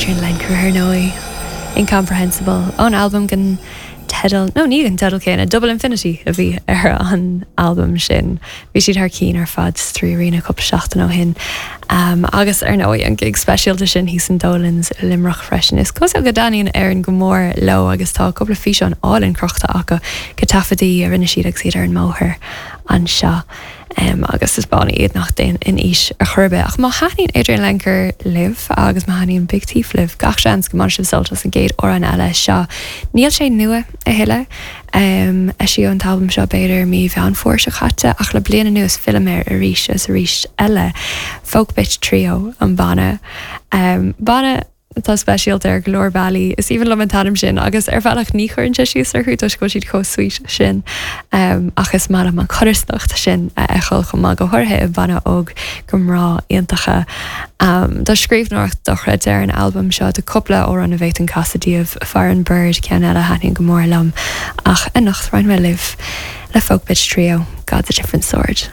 Adrianne Lenker ar ndóigh, Incomprehensible, ón albam den teideal, nó ní den teideal céanna, Double Infinity a bhí ar an albam sin. Bhí siad thar cinn ar fad sa 3Arena cúpla seachtain ó shin. Agus ar ndóigh an gig speisialta sin thíos in Dolan's i Luimneach freisin. Is cosúil go dtaitníonn Éirinn go mór leo agus tá cúpla físeán álainn crochta acu de taifeadaí a rinne siad agus iad ar an mbóthar anseo. Agus is banna iad nach dtéann in aois ar chor ar bith. Ach má thaitníonn Adrianne Lenker libh agus má thaitníonn Big Thief libh, gach seans go mbainfidh sibh sult as an gcéad amhrán eile seo. Níl sé nua a thuilleadh. Eisíodh an t-albam seo b'fhéidir mí Mheán Fómhair seo caite ach le bliain anuas fillim air arís is arís eile. Folk Bitch Trio an banna. Banna. atá speisialta ar go leor bealaí. Is aoibhinn liom an t-ainm sin agus ar bhealach ní chuireann sé síos orthu toisc go bhfuil siad chomh sweet sin ach is maith liom an chodarsnacht sin a fheiceáil chomh maith, go háirithe i mbanna óg de mhná iontacha. Tá scríbhneoireacht dochreidte ar an albam seo, tá cúpla amhrán a bhféadfainn casadh daoibh, Foreign Bird ceann eile a thaitníonn go mór liom ach anocht roinnfidh mé libh le Folk Bitch Trio, God's a Different Sword.